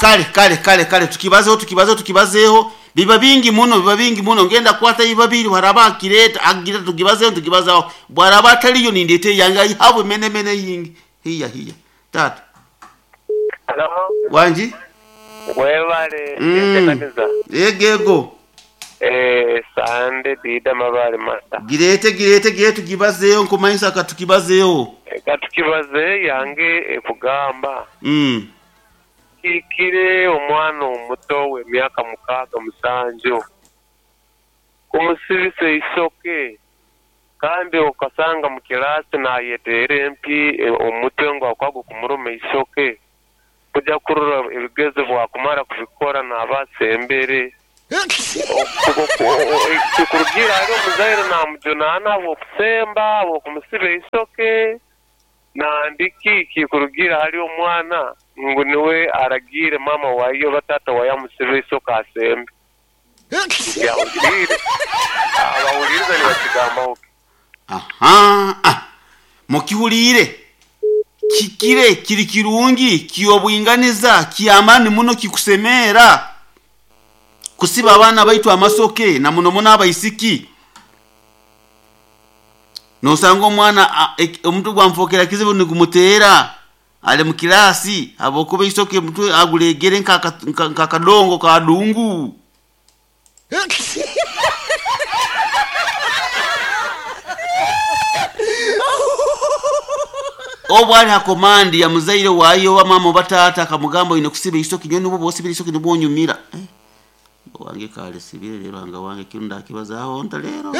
Kale kale kale kale tukibazeho tukibazeho tukibazeho biba bingi muno biba bingi muno ngenda kwata biba biri haraba akireta agira tukibazeho tukibazaho bwaraba ataliyo nindete yange ayihabwe mene mene yingi hiya hiya tata Halo, wanji webale Mm. Yego Eh, Sande Dida Mabale Master. girete girete girete tukibazeho nkumanyisa katukibazeho Katukibaze yange ekugamba mm. kikire omwana omuto w'emyaka 6 7 kumusibisa eisoke kandi okasanga mu kirasi nayeteera empi omutwe ngu akwaga kumuruma eisoke kuja kurora ebigezo bwakumara kubikora naaba asembere kikurugiira hari omuzaire namujunaana habw'okusemba habw'okumusiba eisoke nandiki kikurugiira hari omwana ngu niwe aragiire maama waye oba taata waye amusibe eisoke asembe. Yahuriire abahuriiriza nibakigambaho ki? Aha ah. Mukihuliire kikire kiri kirungi kiyobwinganiza kiyamani muno kikusemeera kusiba abaana baitu amasoke na muno muno abaisiki nosanga omwana omutwe gwamufokera kizibu nigumuteera ali mu kirasi habwokuba eisoke omutwe agulegere nk'akadongo kadungu. Obu ali ha komandi ya muzaire wayo oba maama oba taata akamugamba oine kusiba eisoke nyowe nibwo bwosibira eisoke nibwo onyumira. Wange kale sibire rero anga wange kinu ndakibazaaho nta rero.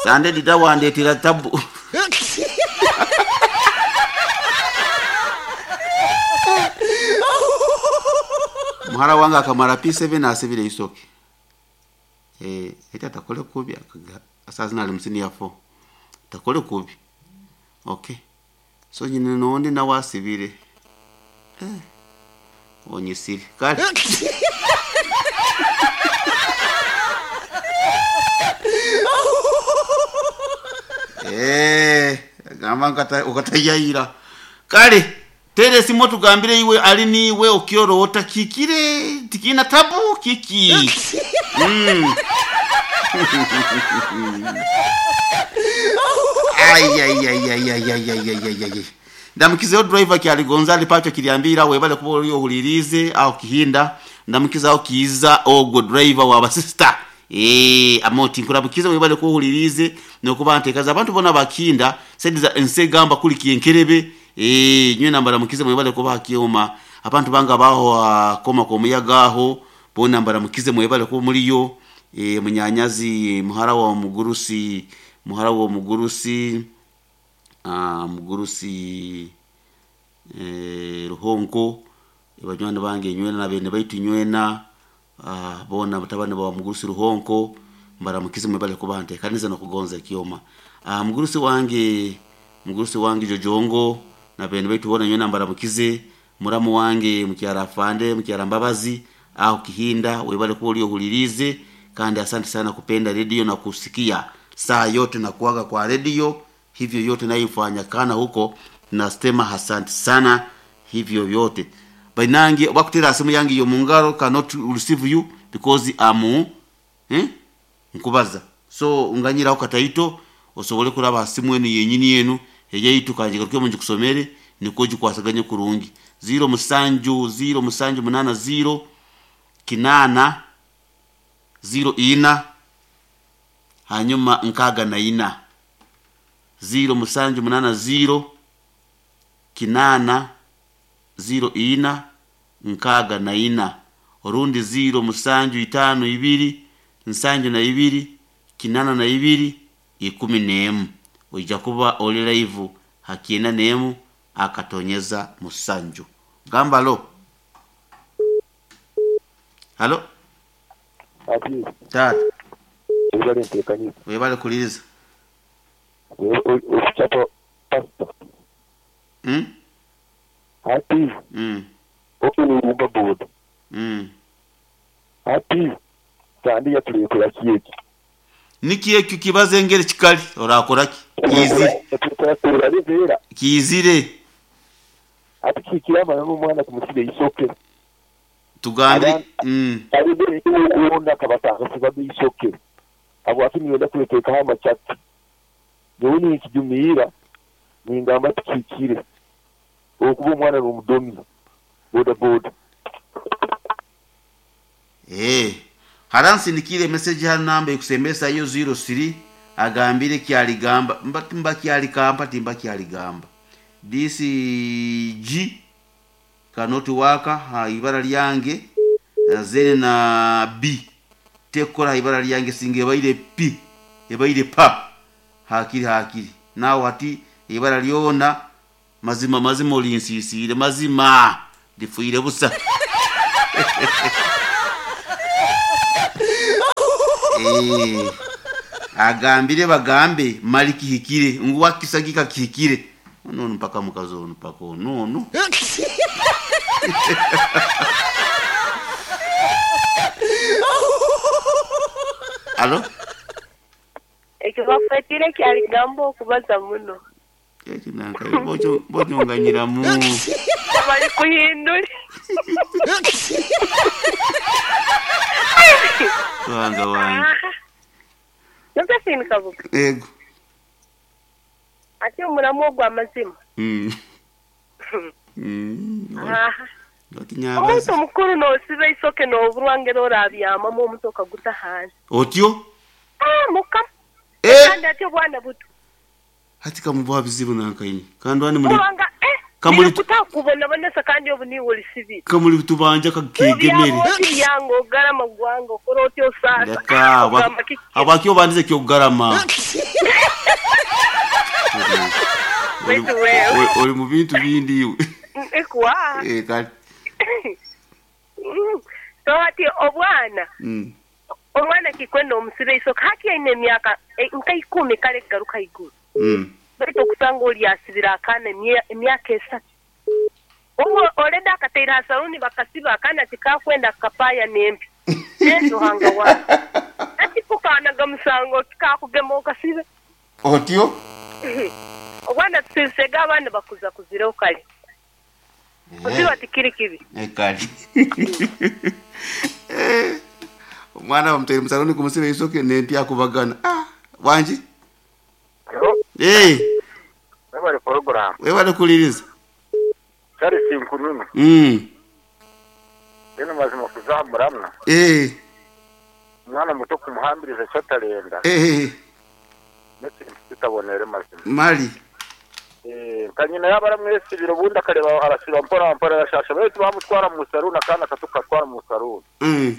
Sande dida wandetera tabu. Muhara wange akamara P7 asibire eisoke. Eti atakole kubi asazi nali mu senior 4. Takole kubi. Okay. So nyine nondi nawe asibire. Onyisire. Kale. Gamba ukatayayira. Kale tere simu tugambire iwe ali niwe okiorota kikire tikina tabu kiki. Ai ai ai ai ai ai ai ai ai ai. Ndamukizeho driver kyali Gonzali Pacho kiliambira webale kuba oli ohulirize au kihinda ndamukizaho kiza ogwo driver wa sister. Amoti nkurabukiza webale kuba ohulirize nokuba ntekaza abantu bona bakinda sediza ensegamba kuli kienkerebe. Nywe nambara mukize mwebale kuba hakioma abantu banga baho akoma ko muyagaho bona mbara mukize mwebale kuba muriyo. Munyanyazi muhara wa mugurusi muhara wa mugurusi mugurusi ruhonko banywani bange nywena na bene baitu nywena bona batabani ba mugurusi ruhonko mbara mukize mwebale kuba ntekaniza no kugonza kioma. Mugurusi wange jojongo na bene baitu bona nywena mbara mukize muramu wange mukyara afande mukyara mbabazi au kihinda webale kuba uliohulirize kandi asante sana kupenda redio na kusikia saa yote na kuaga kwa redio hivyo yote naifanya kana huko nasema asante sana hivyo yote bainange bakutera simu yange yo mungaro cannot receive you because amu nkubaza so unganyira ukataito osobole kuraba simu yenu yenyini yenu eyeyitu kanje garuke munji kusomere niko jikwasaganye kurungi 0 musanju 0 musanju 8 0 kinana 0 ina hanyuma nkaga na ina 0 musanju 8 0 kinana 0 ina nkaga na ina orundi 0 musanju 5 2 nsanju na 2 kinana na 2 11 ojja kuba oli live hakiena nemu akatonyeza musanju gamba lo halo Ati tata webale ntekanyiza webale kuliriza okuchapa pastor ati okulumba boda ati sandi yatulekera kiyeki niki ekyo kibaze engeri kikali orakoraki? Kiizire. Kiizire. Ati kihikire amananu omwana kumusiba eisoke. Tugambire. Mm. Boona akabatangasibaga eisoke. Habwaki niyenda kwetekaho amachati? Nyowe ninkijumiira ningamba tikihikire okuba omwana nomudomi boda boda. Eeh hare ansindikiire message hanu namba ekusembesa yo ziro siri agambire kyaligamba mba timba kyalikampa timba kyaligamba this G cannot work ha ibara lyange then na B tekukora ha ibara lyange singa ebaire P ebaire pa hakiri hakiri nawe hati eibara lyona mazima mazima orinsisiire mazima ndifiire busa. Eh, agambire bagambe mali kihikire ngu wakisagika kihikire nono mpaka mukazi onu mpaka onu onu alo Ekyo bakwetire kyaligamba okubaza muno. Ekyo nanka bokyo bonyonganyiramu. Bari kuhindura. Ruhanga wange. Josephine Kabuga. Ego. Ati omuramu ogwo amazima. Aha. Omuntu mukuru nosiba eisoke noburwa ngeri orabyamamu omutwe okaguta ahansi. Otyo? Ah, mukama. Eh. Kandi ati obwana buto. Hati kamubuha bizibu nanka inywe. Kandi wani muri Kubanga eh Kamuri kutakubonabonesa kandi obu niiwe orisibire. Kamuri tubanja kakegemere. Obyaba otiryanga ogarama gwanga okora otya osaasa. Leka Ogamba kiki? habwaki obandize ekyokugarama? Baitu wewe. Ori mu bintu bindi iwe. Ekuwa. Eh, kale. So hati obwana omwana kikwenda omusibe eisoke hati aine emyaka nka ikumi kare kugaruka ahaiguru. Baitu okusanga ori asibire akaana emyaka esatu. Obwo already akataire aha saluuni bakasiba akaana tikakwenda kakapaaya n'empi. Yesu Ruhanga wange. Hati ko kaanaga musango ki kakugema okasibe? Otyo? Obwana tusibisege abaana bakuza kuzireho kare. Kusiba tikiri kibi. Kare. Omwana bamutaire mu saluuni kumusiba eisoke n'empi akubagana. Ah, wangi? Halo. Eh. Webale program. Webale kuhuririza. Charles Nkununu. Mbwenu mazima kuza aha muramwa. Eh. Omwana muto kumuhambiriza eki atarenda. Eh. N'ekintu kitaboneire mazima. Mali. Eh, nka nyina yaaba aramwesibira obundi akareeba arasiba mpora mpora arashasha beitu bamutwara mu saruuni akaana kato kukatwara mu saruuni.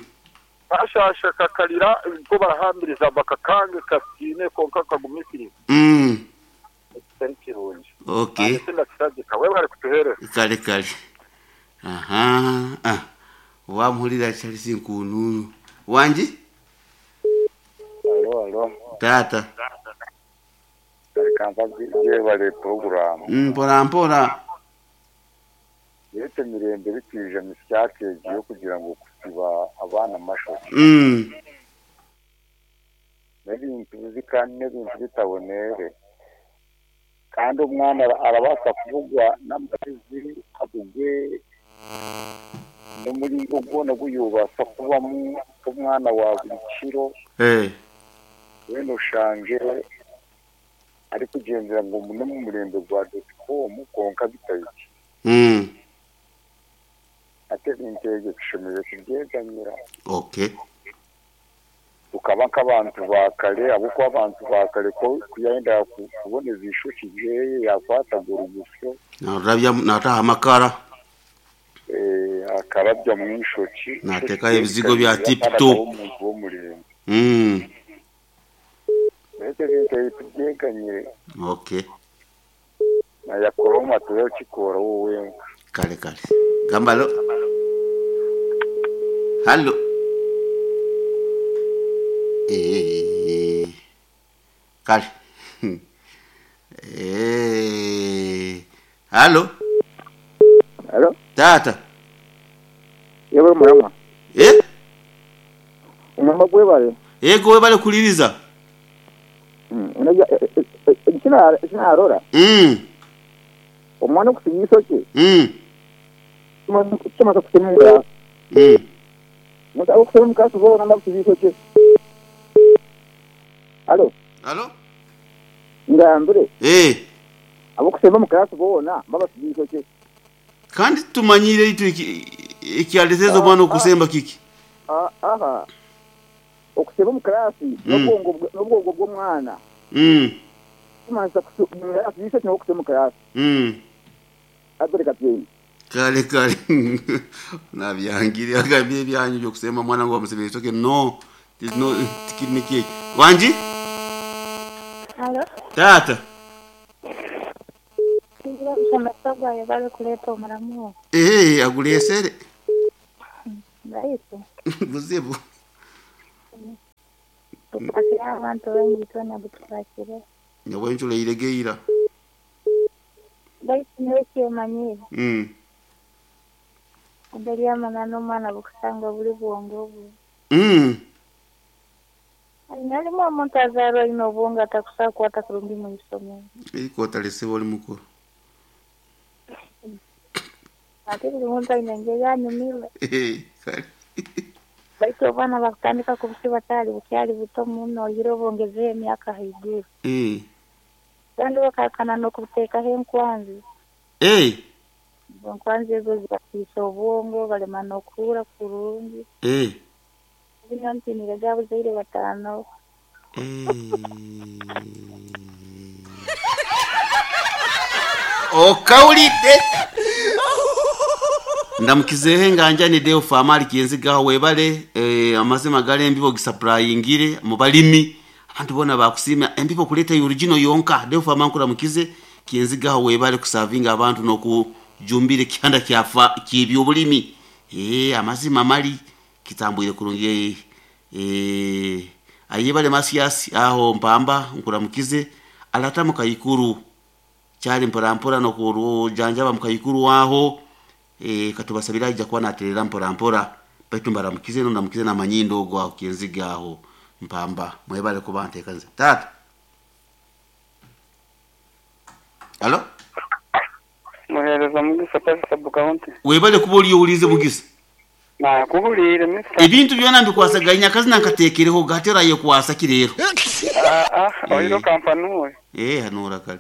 Kashasha kakarira bo barahambiriza bakakange kasiime kwonka kagumisiriza. Eki kitari kirungi. Okay. Naanye tindakishagika. Webare kutuheereza. Kare kare. Aha. Ah. Wamuhurira Charles Nkununu. Wangi? Alo, alo. Taata. Reka mbabwire yebare poroguramu. Mpora mpora. Yete emirembe erikwija misya egi y'okugira ngu okusiba abaana amashoki. N'ebintu bibi kandi n'ebintu bitaboneire. Kandi omwana arabaasa kubugwa n'amagezi abugwe n'omuringo gwona ogu yoobaasa kubamu nk'omwana wa buri kiro. Weena oshange arikugyendera ngu omu n'omu murembe gwa doti komu kwonka bitahikire. Hati ebintu ebyo tushemereire kubyeganyira. Okay. Tukaba nk'abantu ba kare ahabw'okuba abantu ba kare ku yayendaga kuboneza eishokye ryeye yakwataga orugusyo. Naarurabya naataho amakara. Akarabyamu eishokye. Naateekaho ebizigo bya tip top. Omuntu w'omurembe. Beitu ebintu ebi tubyeganyire. Okay. Nayakoroma turabikora we wenka. Kare kare. Gamba halo. Halo. Eh. Kare. Eh. Halo. Halo. Tata. Yebale murama. Eh? Omurama gwebale. Yego webale kuliriza. Eki naarora, omwana okusiba eishokye tikimanyisa kusema omu kiraasi. Abarikushoma omu kiraasi boona nibakusiba eishokye. Halo? Halo? Ngambire. Abarikushoma omu kiraasi boona nibabasiba eishokye. Kandi titumanyire itwe ekyaleetera omwana okusemba kiki? Aha. Okusheba omu kiraasi n'obwongo bw'omwana. Tikumanyisa kusiba eishokye n'okusheba omu kiraasi. Abel Katyeine. Kale kale nabyangire agambire ebyanyu by'okusemba omwana ngu bamusibe eishokye no no tikiri nikyo ekyo. Wangi? Halo. Taata. Tingira omushomesa ogwo ayebare kureeta omuramu ogwo. Eeh agureesere. Baitu. Buzibu. Gukwasire abantu baingi twena gutukwasire. Nyowe ncureire ge ira. Baitu nyowe ekyemanyire. Engeri y'amananu omwana bukusanga buri bwongo bwe. Harimu omuntu azaarwa aine obwongo atakusobola kukwata kurungi omu isomero. Eriko otaresiba ori mukuru. Ate buri muntu aine engeri anyumirwe. Baitu obwana bakutandika kubusiba bukyali bukyali buto muno oihireho bongezeho emyaka haiguru. Kandi bakahakana n'okubuteekaho enkwanzi. Enkwanzi ezo zibasiisa obwongo balema n'okuhurra kurungi. Nyowe ntiinire ga abazaire bataano. Okawulidde? Ndamukizeeho enganjani Deo Famari Kyenzigaho webale eh, amazima gari embibo ogisapurayingire mu balimi abantu boona bakusiima embibo okureeta original yonka Deo Fama nkuramukize Kyenzigaho webale kusavinga abantu n'okujumbira ekihanda kya ky'ebyobulimi eh, amazima mari Kitambwire kurungi eeh Ayebare Mathias aho Mpamba nkuramukize Alata mukaikuru kyari mpora mpora nokujanjaba mukaikuru aho eeh katubasabire aija kuba naterera mpora mpora baitu mbaramukize no ndamukize namanyindo ogu aho Kyenzige aho Mpamba mwebare kuba ntekaniza Taata Hallo. Muhereza Mugisa Pasi Sub County. Webale kuba oriyo ohuriize Mugisa. Nakuhuriire Mister. Ebintu byona mbikwasaganya akazina nkatekereho hati orayekwasa ki reero? Aa oine okampa nuwe. Eeh hanuura kare.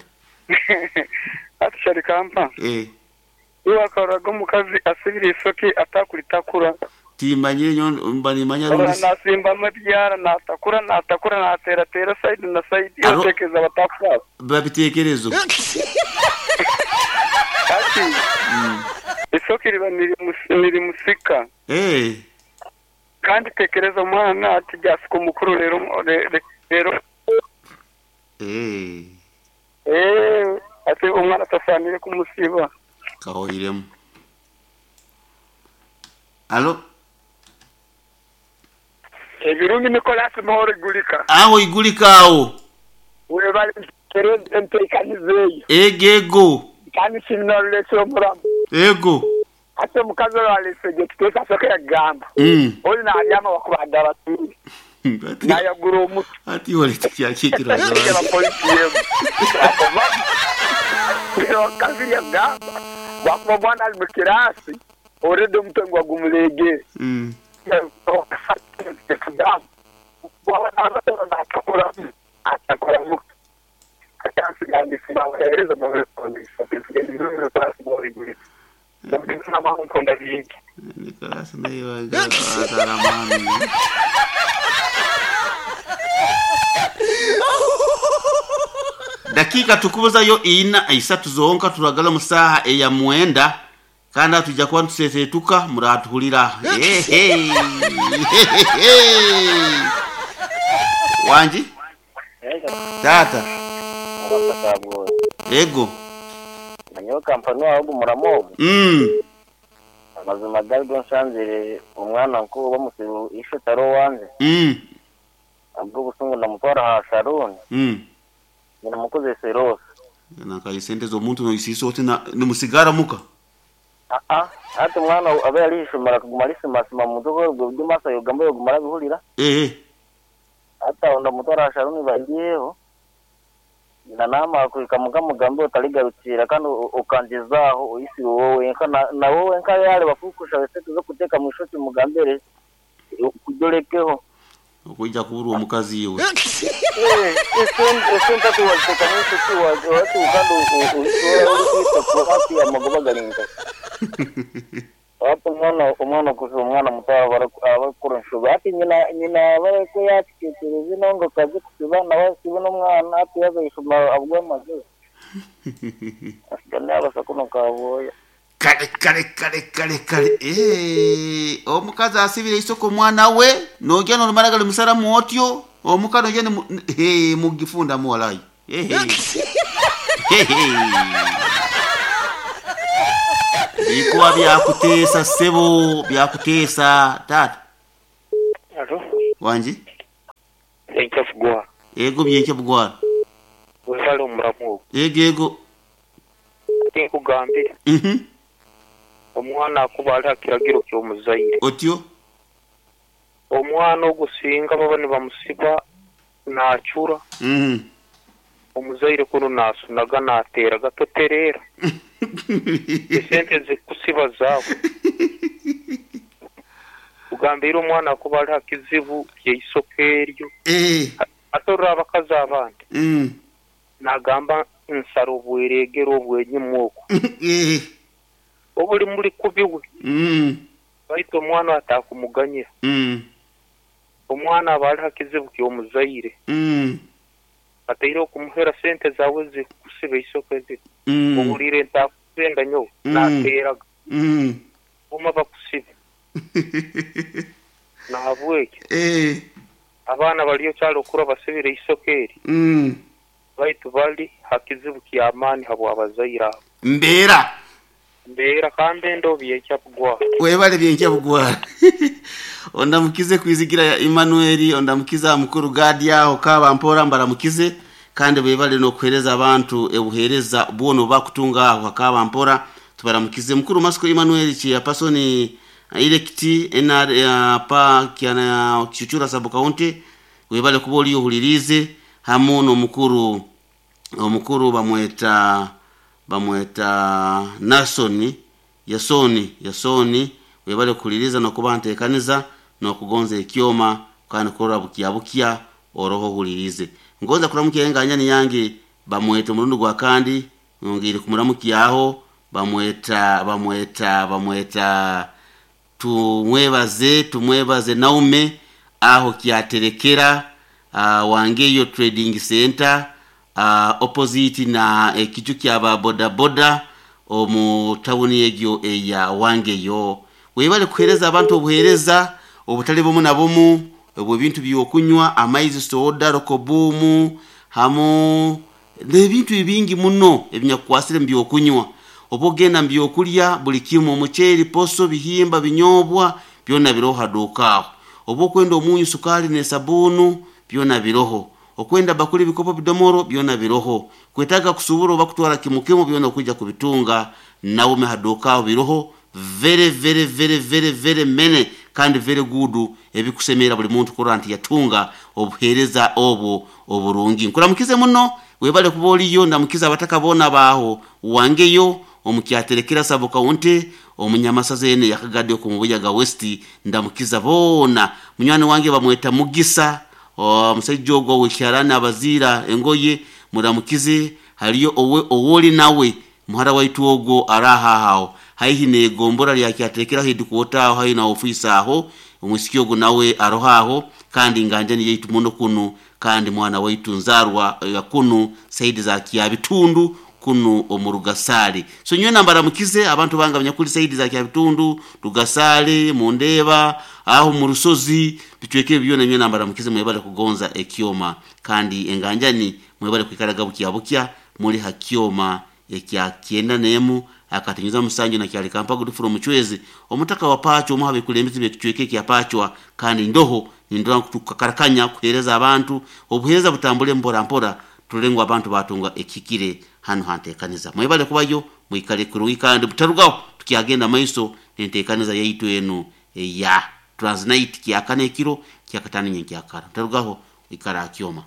Hati shari kampa. Iwe wakaroraga omukazi asibire eisoke atakuritakura? Timmanyire nyowe mba nimmanya Orora rundi. nasimbamu ebyara natakura natakura nateratera sayidi na sayidi Aro otekereza batakusaasa? Biba bitekerezo. Hati eisoke riba nirimusika. Kandi tekereza omwana ati ryasika omukuru reero reero. Ati omwana tasaanire kumusiba. Kahoiremu. Halo. Ebirungi Nicholas Mahoro Igulika. Aho Igulika aho. Webale enteekaniza eyo. Ego ego. Kandi nsiima orureetsire omuramu. Ego. Hati omukazi oru areetsire gye tuteeka asooke yagamba. Oli naabyama wakuba abatuure. Naayagura omutwe. Hati iwe tikyakiikirwa Yaba polisi yemu. Twakomamu. Reero omukazi yagamba wakuba omwana ari mu kiraasi already omutwe niguba gumureegire. Nicholas naye ataramani. Dakiika tukubuzayo ina isatu zonka turagala mu saaha eya mwenda kandi aha twija kuba nitusesetuka muratuhurira. Ehe. Wangi? Taata. Ego. Nyowe kampani wawe ogu muramu ogu. Amazima gari go nsanzire omwana nk'ogu bamusiba ishe tari owange. Ahabw'obusungu ndamutwara aha saruuni. Nyina mukozesa eroosa. Nakaye sente z'omuntu noisiisa oti nimusigara muka? Aa, hati omwana abe ari ah'ishomero akaguma arisimasima omu mutwe ku origwa ebyo yogamba yoguma arabihurira. Hati aho ndamutwara aha saruuni bagiiheho. Nyina naamara kuhika muka amugambira otarigarukira kandi okangyezaho oisirwe wowe wenka na wowe wenka yaareba ku orikushaba esente z'okuteeka omu ishokye omugambire kurya orekeho. Okwija kuburwa omukazi iwe. Esente hati waziteeka omu ishokye waatuuka kandi oisirwe orikwita hati amagoba gari nkahi? Hati omwana omwana okuziha omwana muto aba arikukora enshobe. Hati nyina nyina aba ariko yaakitekyereza ino ngu akaze kusiba nawe asibe n'omwana hati yaaza aha ishomero abugwe amagezi. Asigara naabaasa kunu kaabwoya. Kale kale kale kale kale eeh omukazi asibire eisoko omwana we nogya norimara garimusaramu otyo omuka nogya nimu hee mugifundamu walai ehe Bikuba byakuteesa ssebo byakuteesa taata. Alo. Wangi. Byenkya Bugwara. Ego Byenkya Bugwara. Webale omuramu ogwo. Ego ego. Tinkugambire. Omwana akuba ali ha kiragiro ky'omuzaire. Otyo. Omwana ogwo singa baba nibamusiba naacura, omuzaire kunu naasunaga naateeraga totereera. Esente zikusiba zaawe. Kugambiire omwana akuba ali ha kizibu ky'eisoke eryo. Ate orora abakazi abandi, naagamba nsara obwereegere obw'enyima oku. Obuli muli kubi we. Baitu omwana ataakumuganyira. Omwana aba ali ha kizibu ky'omuzaire. Ataireho kumuhera sente zaawe ezikusiba eisoke ziti, ohuliire ntaakuzenda nyowe, naateeraga. Guma bakusibe. Nahabwekyo, abaana baliyo kyali okura basibire eisoke eri, baitu bali ha kizibu ky'amaani habw'abazaire abo. Mbeera. Mbeera ka mbe ndoho Byenkya Bugwara. Webale Byenkya Bugwara. Ondamukize Kwizigira ya Emmanuel, ondamukize aha mukuru Gadi aho Kabampora mbaramukize kandi bebale n'okuhereza abantu obuhereza bwona obu bakutunga aho ha Kabampora tubaramukize. Mukuru Masiko Emmanuel Chairperson elect NR pa Kichuchura sub county webale kuba oriyo ohuririize hamu n'omukuru omukuru bamweta bamweta Nasoni Yasoni Yasoni webale kuhuririza n'okuba ntekaniza n'okugonza ekyoma kandi kurora bukya bukya oroho ohuririize. Ngonza kuramukya enganyani yange bamweta omurundi gwa kandi nyongeire kumuramukyaho bamweta bamweta bamweta Tumwebaze Tumwebaze Naume aho Kyaterekera Wangeyo Trading Centre opposite na ekiju kya ba boda boda omu tawuni egyo eya Wangeyo. Webale kuhereza abantu obuhereza obutali bumu na bumu obw'ebintu by'okunywa amaizi, soda, rokobumu hamu n'ebintu ebingi muno ebinyakukwasire mu by'okunywa. Obu ogenda mu by'okulya buli kimu omuceeri, poso, bihimba, binyobwa byona biroho ha duuka aho. Obu okwenda omunyu, sukaali n'esabuunu byona biroho. Okwenda bakuli, bikopo, bidomoro byona biroho. Kwetaaga kusuubura oba kutwara kimu kimu byona okwija kubitunga Naume ha duuka aho biroho very very very very very many kandi very good ebikusemerra buli muntu kurora nti yatunga obuheereza obwo oburungi. Nkuramukize muno webale kuba oriyo ndamukize abataka boona abaaho Wangeyo omu Kyaterekera sub county omu Nyamasaza enu eya Kagadi oku mu Buyaga West ndamukiza boona. Munywani wange bamweta Mugisa omusaija ogu ow'ekyarani abaziira engoye muramukize haliyo owe owoli nawe muhara waitu ogwo araha aho haihi n'egombora lya Kyaterekera headquarter aho haihi na ofiisi aho omwisiki ogu nawe aroho aho kandi nganjani yaitu muno kunu kandi mwana waitu nzaarwa ya kunu saidi za Kyabitundu kunu omu Rugasaale. So nyowe mbaramukize abantu bange abanyakuli saidi za Kyabitundu, Rugasaale, Mundeeba, aho mu Rusozi, bicweka ebi byona nyowe mbaramukize mwebale kugonza ekyoma kandi enganjani mwebale kwikaraga bukya bukya muli ha kyoma ekya kyenda n'emu akatinyuza musanju na kyali Kampa Godfrey Omuchwezi omutaka wa Pachwa omu ha bekulembezi b'ekicweka ekya Pachwa kandi ndoho nindora ngu tukakarakanya kuheereza abantu obuheereza butambule mpora mpora turole ngu abantu batunga ekihikire hanu ha nteekaniza. Mwebale kubayo mwikale kurungi kandi mutarugaho tukyagenda maiso n'enteekaniza yaitu enu eya Transnight kyakana ekiro kyakataano nyenkyakara. Mutarugaho ikara ha kyoma.